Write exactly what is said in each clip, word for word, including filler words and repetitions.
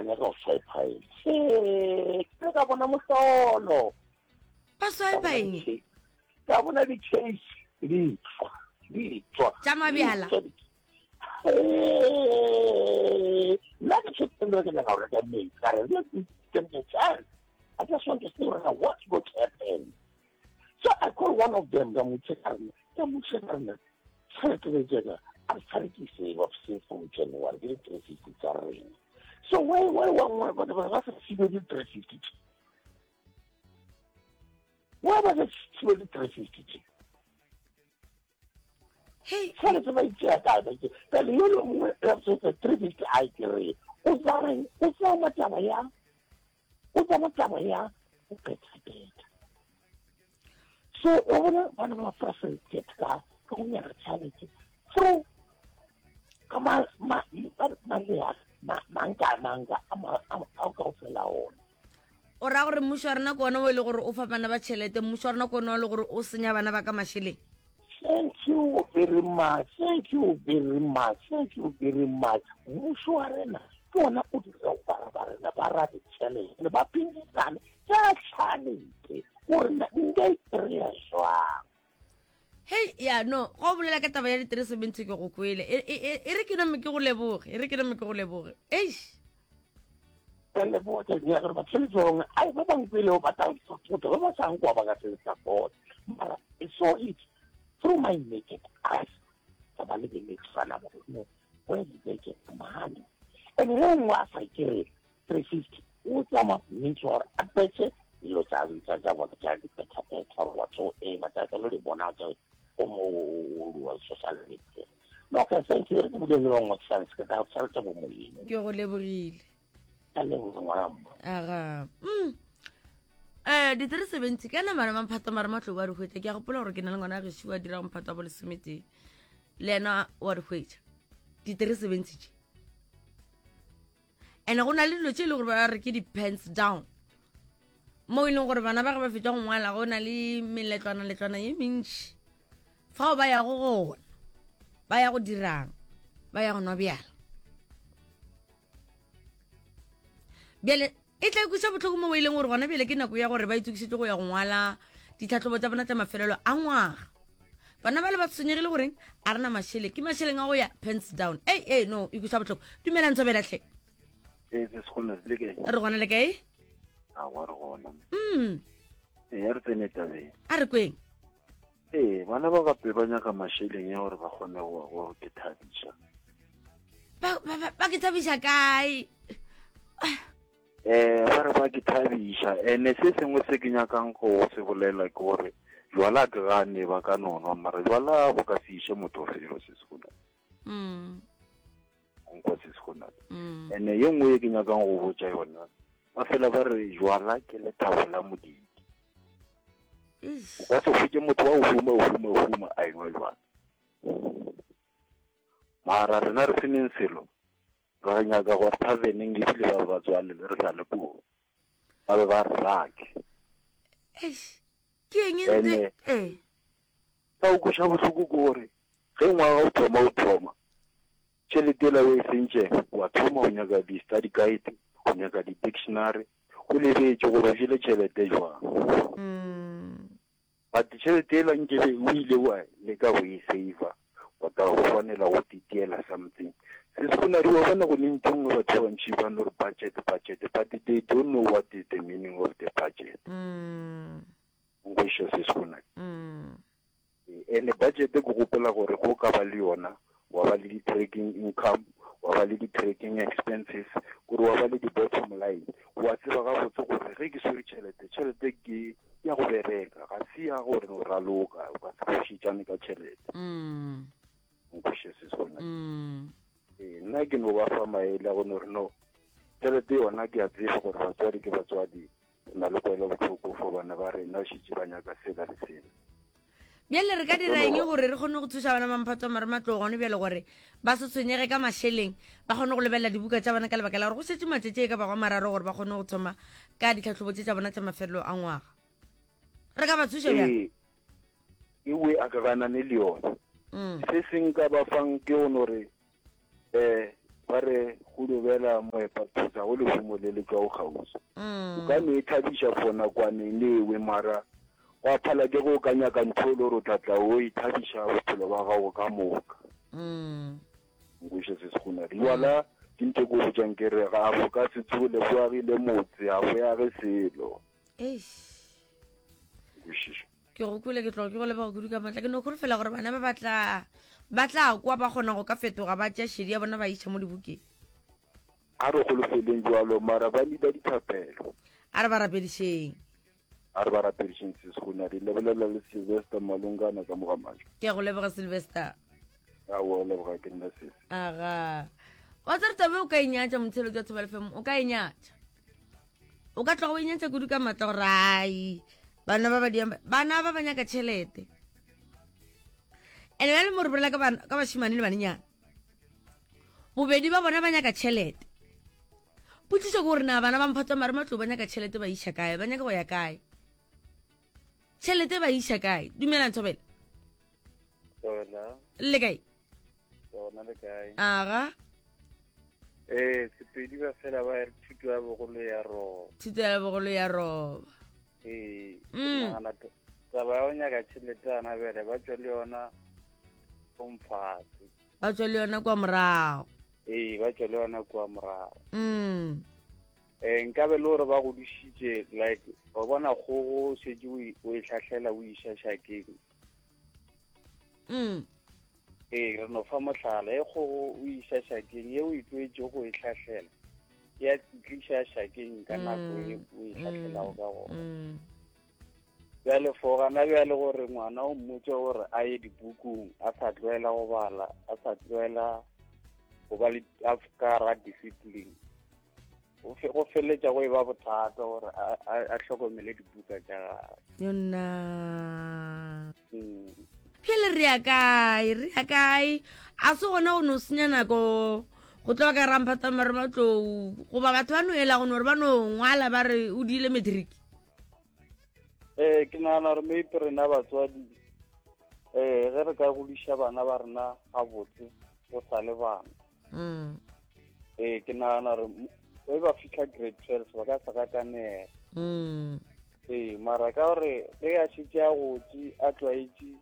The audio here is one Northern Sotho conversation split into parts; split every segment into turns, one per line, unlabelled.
Ba nyaka go swipe eng? Ke ka bona mohlolo.
Ba swipe eng?
Ka bona di-case di tswa, di tswa.
Tša mabjala.
Nna ke tshwetsa ke nyaka go reka metsi. Ka re, let me give me a chance. I just want to see what's going to happen. So I call one of them, ka mo check-a rena, ka mo check-a rena. Tšhelete le tšeka, a re tshware ke save up since from January, ke di-three fifty tsa rena. So why, why, why, why, ba ba sa fiwe di-three fifty tše? Why ba sa fiwe di-three fifty tše?
Hey.
Tšhelete ba itšea kae, ba itšea. Pele yo le mongwe, three fifty a e kry-e. O tsa reng? O tsama taba ya, o tsama taba ya go phetha-phetha. So o bona bana ba frustrated ka ka go nyaka tšhelete through ka ma ma ma ma manka manka a ma a kaofela ona.
O ra gore mmušo wa rena ke ona o e le gore o fa bana ba tšhelete, mmušo wa rena ke ona o e le gore o senya bana ba ka mašeleng.
Thank you very much, thank you very much, thank you very much. Mmušo wa rena ke ona o dira bana ba rena ba rate tšhelete, ba phedisane ka tšhelete gore nka e kry-a jwang.
Hei, ya no, go bolela ka taba ya di-three seventy ke go kwele. E, e, e, e re ke name ke go leboge, e re ke name ke go leboge. Eish.
Ke leboga ke nyaka gore batšhelete ba bangwe, ai, ba bangwe pele ba tla support, ba ba sa nkwa ba ka se support. Mara I saw it through my naked eyes. Ka ba lebeletse fana gore no, where did they get the money? And ge nngwe a sa kry three fifty, o tsamaya means gore a petse dilo tsa tsa tsa bona tsa di-phetha-phetha or whatsoever, tsa tsa lo di bona tsa o mo social media. No, okay, thank you. Re ke bule le bangwe chance, ke tla tšhelete bo moyeng.
Ke go lebogile.
Ka leboga ngwana mma.
Aga. Mm. Eh, di-three seventy ka nama re mamphato mare matlou a di hwetša. Ke a gopola gore ke na le ngwana a gešo a dira mphato wa bo lesometee. Le yena wa di hwetša. Di-three seventy tše. And go na le dilo tše e le gore ba re ke di-pens down. Mo e leng gore bana ba ge ba fetša go ngwala go na le meletlwana letlwana ye mentši. Fao ba yago gona. Ba ya go dirang. Ba ya go nwa bjala. Bjale e tla ikweša bohloko mo e leng gore gona bjale ke nako ya gore ba itokišetše go ya go ngwala ditlhahlobo tša bona tša mafelelo a ngwaga. Bana ba le ba tshwenyegile goreng a rena mašeleng, ke mašeleng a go ya pens down. Ei, ei, no, e kweša bohloko. Dumelang Thobela hle.
Ee, se se le kae?
Re gona le kae?
A wa re gona.
Mm.
Ee, a re tsene tabeng.
A re kweng.
Ee, bana ba gape ba nyaka mašeleng ya gore ba kgone go go ke thabiša.
Ba ba ba ke thabiša kae?
Eh, ba re ba ke thabiša. Ene se sengwe se ke nyakang go se bolela ke gore jwala ke gane ba ka no nwa, mara jwala bo ka se iše motho felo se se gona.
Mm.
Nkwa se se gona.
Mm.
Ene ye nngwe ye ke nyakang go botša yona, ba fela ba re jwala ke lethabo la modidi.
Eish.
O ka se hwetše motho wa go huma, huma, huma a enwa jwala. Mara rena re seneng selo, re nyaka gore taverneng ebile ba ba tswalele re sa le koo. Ba be ba re rake.
Eish. Ke eng e ntse?
Ene
Eh.
Ka o kweša bohloko ke gore ge ngwaga o thoma o thoma, tšhelete ela o e sentšeng, wa thoma o nyaka di-study guide, o nyaka di-dictionary, o lebetše gore o jele tšhelete jwang.
Mm.
But tšhelete ela nkebe o ile wa leka go e save-a, wa tla go swanela go titiela something. Se se gona wa bona go ne ntho nngwe batho ba bantši ba no re budget, budget, but they don't know what is the meaning of the budget.
Mm.
Nkweša se se gona.
Mm.
Ene budget ke gopola gore go ka ba le yona, wa ba le di-tracking income, wa ba le di-tracking expenses, gore wa ba le di-bottom line. Wa tseba gabotse gore ge ke swere tšhelete, tšhelete ke ya go bereka, ga se ya gore o raloka, o ka se phošetšane ka tšhelete.
Mm.
Nkweša se se gona.
Mm.
Ee, nna ke no ba fa maele a go no re no, tšhelete yona ke a tseba gore batswadi ke batswadi, re na le kwelo bohloko for bana ba rena, šetše ba nyaka sela le sela.
Bjale re ka dira eng gore re kgone go thuša bana ba mphato wa marematlou gone bjale gore ba se tshwenyege ka mašeleng, ba kgone go lebelela dibuka tša bona ka lebaka la gore go šetše matšatši e ka bago a mararo gore ba kgone go thoma ka ditlhahlobo tše tša bona tša mafelelo a ngwaga. Re ka ba thuša bjang?
Ee, ewe a ka ganane le yona.
Mm.
Se se nka ba fang ke go no re, eh, ba re go Go no bela moepathusa go lehumo le le tšwago kgauswi. O
Mm.
ka no e thabiša for nakwaneng lewe mara gwa phala ke go ka nyaka ntho e le gore o tla tla o ithabiša bophelo ba gago ka moka.
Mm.
Nkweše se sekgonadi. Jwala ke ntho e ke o botšang ke re ga bo ka se tsole bo agile motse ga bo age selo.
Eish.
Nkwešiša.
Ke go kwele ke tloga ke go leboga kudu ka maatla. Ke no kholofela gore bana ba ba tla ba tla kwa ba kgona go ka fetoga ba tšea šedi ya bona ba iša mo dibukeng.
A re holofeleng jwalo mara ba need-a dithapelo.
A re ba rapedišeng.
A re ba rapedišeng se sekgonadi. Lebelela le Sylvester Malungana ka mo ga Majo.
Ke a go leboga Sylvester.
Aowa, o leboga ke nna sesi.
Aga. Wa tsere tabe o ka inyatša motshelo jwa Thobela F M, o ka inyatša. O ka tloga o inyatša kudu ka matla gore ai bana ba ba diang bana ba ba nyaka tšhelete. Ene bjale mo re bolela ka bana, ka bašemane le banenyana. Bobedi ba bona ba nyaka tšhelete. Potšišo ke gore na bana ba mphato wa marematlou ba nyaka tšhelete ba iša kae, ba nyaka go ya kae? Tšhelete ba iša kae? Dumelang Thobela.
Thobela.
Le kae?
Bona le kae?
Aga.
Eh, Sepedi ba fela ba re thuto ya bogolo ya roba.
Thuto ya bogolo ya roba.
Ee,
Mm.
nagana taba ya go nyaka tšhelete gana bjale ba tšwa le yona mfatshe.
Ba tšwa le yona kwa morago.
Ee, ba tšwa le yona kwa morago.
Mm.
Eh, nkabe le gore ba godišitše like wa bona kgogo o šetše o e, o e hlahlela o iša šakeng.
Mm.
Ee, re no fa mohlala, e kgogo o iša šakeng, ye o e tlwaetše go e hlahlela, ya tliša šakeng ka nako e
Mm.
o e hlahlelago ka gona.
Mm.
Bjale for gana bjale gore ngwana o mmotse gore a ye dibukung, a sa tlwaela go bala, a sa tlwaela go ba le a ka ra discipline. Go fe-, go feleletša go e ba bothata gore a, a, a hlokomele dibuka tša gagwe.
Yona.
Mm.
Phele re ya kae, re ya kae? A se gona go no senya nako go tloga ka ramphata marematlou goba batho ba no ela go no re ba no ngwala ba re o diile matric.
Eh, ke nagana gore maybe rena batswadi, eh, ge re ka godiša bana ba rena gabotse go sa le bana.
Mm.
Eh, ke nagana gore m-, ge ba fihla grade twelve ba ka se gakanega.
Mm.
Ee, mara ka gore ge a šetše a gotse a tlwaetše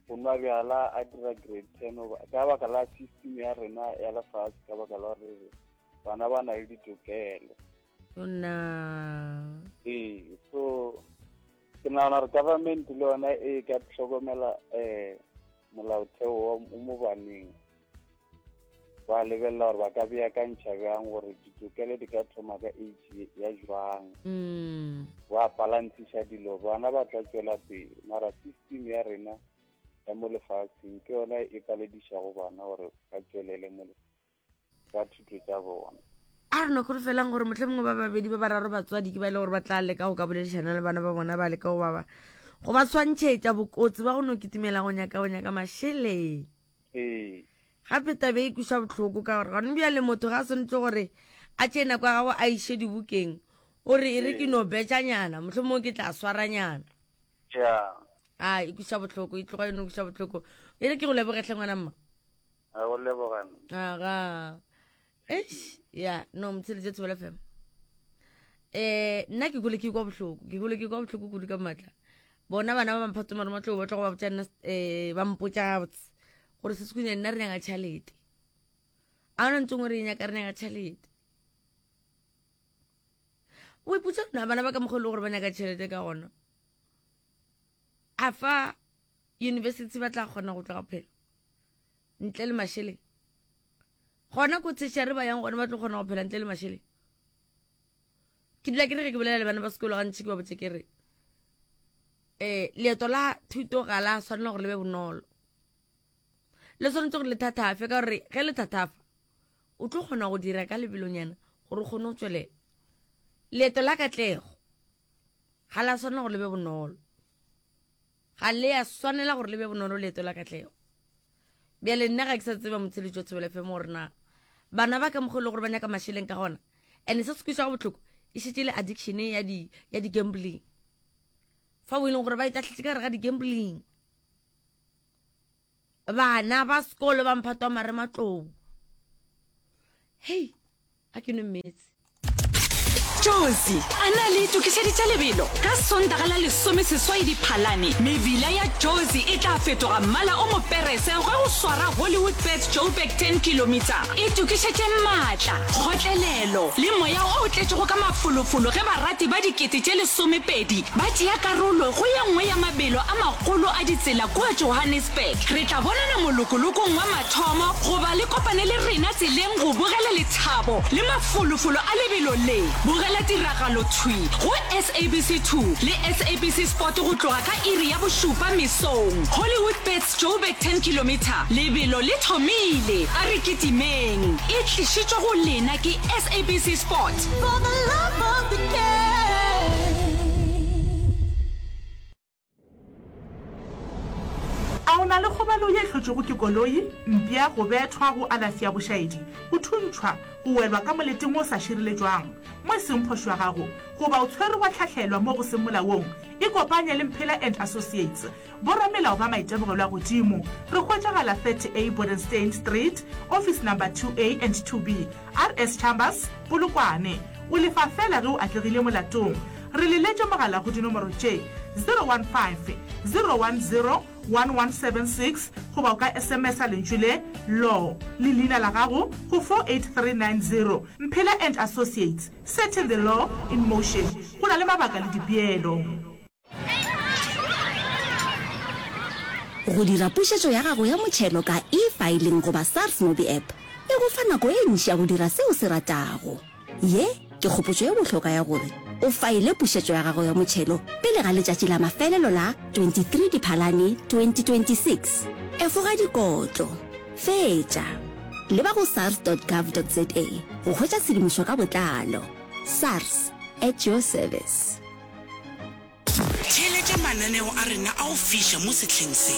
go nwa bjala a dira grade ten, goba ka baka la system ya rena ya lefase, ka baka la gore bana ba na le ditokelo.
Yona.
Ee, so ke nagana gore government le yona e ka hlokomela, eh, molaotheo wa o mo baneng. Ba lebelela gore ba ka beakantšha bjang gore ditokelo di ka thoma ka age ya jwang.
Mm.
Ba balanceiša dilo, bana ba tla tšwela pele. Mara system ya rena ya mo lefatsheng ke yona e paledišago bana gore ba tšwelele mo le-, ka thuto tša bona.
A re no kholofelang gore mohlomongwe ba babedi ba bararo batswadi ke ba e le gore ba tla leka go ka boledišana le bana ba bona, ba leka go ba ba, go ba swantšhetša bokotsi ba go no kitimela go nyaka go nyaka mašeleng.
Ee.
Gape tabe e kweša bohloko ka gore gone bjale motho ga a swanetše gore a tšee nako ya gagwe a iše dibukeng, o re e re ke no betšanyana, mohlomongwe ke tla swaranyana.
Ja.
A e kweša bohloko, e tloga e no kweša bohloko. E re ke go lebogetlhe ngwana mma.
A go leboga nna.
Aga. Eish, ya, no, motsheletše Thobela F M. Eh, nna ke kgole ke kwa bohloko, ke kgole ke kwa bohloko kudu ka maatla. Bona bana ba mphato marematlou ba tlo go ba botša nna, eh, ba mpotša gabotse gore se sekhunya nna re nyaka tšhelete. A hona ntho e nngwe re e nyaka, re nyaka tšhelete. O ipotša na bana ba ka mokgwa e le gore ba nyaka tšhelete ka gona. A fa university ba tla kgona go tloga phela ntle le mašeleng. Gona ko tertiary ba yang gona ba tlo kgona go phela ntle le mašeleng. Ke dula ke re ge ke bolela le bana ba sekolo gantši ke ba botse ke re, eh, leeto la thuto ga la swanela gore le be bonolo. Le swanetse gore le thathafe, ka gore ge le thathafa o tlo kgona go dira ka lebelonyana gore o kgone go tswelela. Leeto la katlego ga la swanela gore le be bonolo. Ga le a swanela gore le be bonolo leeto la katlego. Bjale nna ga ke sa tseba motsheletši wa Thobela F M gore na bana ba ka mokgwa e le gore ba nyaka mašeleng ka gona. And se se kwešišago bohloko e šetše le addiction ya di, ya di-gambling. Fa o e leng gore ba itahletše ka gare ga di-gambling. Bana ba sekolo ba mphato wa marematlou. Hei, A ke nwe meetse.
Jozi a na le itokišeditše lebelo? Ka Sontaga la lesome seswai Diphalane, mebila ya Jozi e tla fetoga mmala o moperese ge go swara Hollywoodbets Joburg ten kilometer. Itokišetše maatla, kgotlelelo le moya o tletšego ka mafolofolo ge barati ba dikete tše lesomepedi ba tšea karolo go ye nngwe ya mabelo a magolo a ditsela kua Johannesburg. Re tla bonana molokolokong wa mathomo goba le kopane le rena tseleng go bogela lethabo le mafolofolo a lebelo le. Bogela tiragalo thwi go S A B C two le S A B C Sport go tloga ka iri ya bošupa mesong. Hollywoodbets Joburg ten kilometer, lebelo le thomile, a re kitimeng! E tlišitšwe go lena ke S A B C Sport.
For the love of the game.
A o na le kgobalo ye e hlotšwego ke koloi, mpša, go bethwa, go alafi ya bošaedi, go thuntšhwa, go welwa ka moleteng wo o sa šireletšwang, mo e seng phošo ya gago, goba o tshwerwe wa hlahlelwa mo go seng molaong? Ikopanye le Mphela and Associates, boramelao ba maitemogelo a godimo. Re hwetšagala thirty A Bodenstein Street, Office Number two A and two B, R S Chambers, Polokwane. O lefa feela ge o atlegile molatong. Re leletše mogala go dinomoro tše, zero one five, zero one zero, one one seven six goba o ka S M S-a lentšu le, law, le leina la gago go four eight three nine zero. Mphela and Associates, setting the law in motion. Go na le mabaka le dipeelo.
Go dira pušetšo ya gago ya motšhelo ka eFiling goba SARS MobiApp e go fa nako e ntši ya go dira se o se ratago. Ye ke kgopotšo ye bohlokwa ya gore o faele pušetšo ya gago ya motšhelo pele ga letšatši la mafelelo la twenty three Diphalane twenty twenty six Efoga dikotlo. Fetša. Leba go sars dot gov dot za go hwetša tshedimošo ka botlalo. SARS, at your service.
Theeletša mananeo a rena a go fiša mo sehleng se.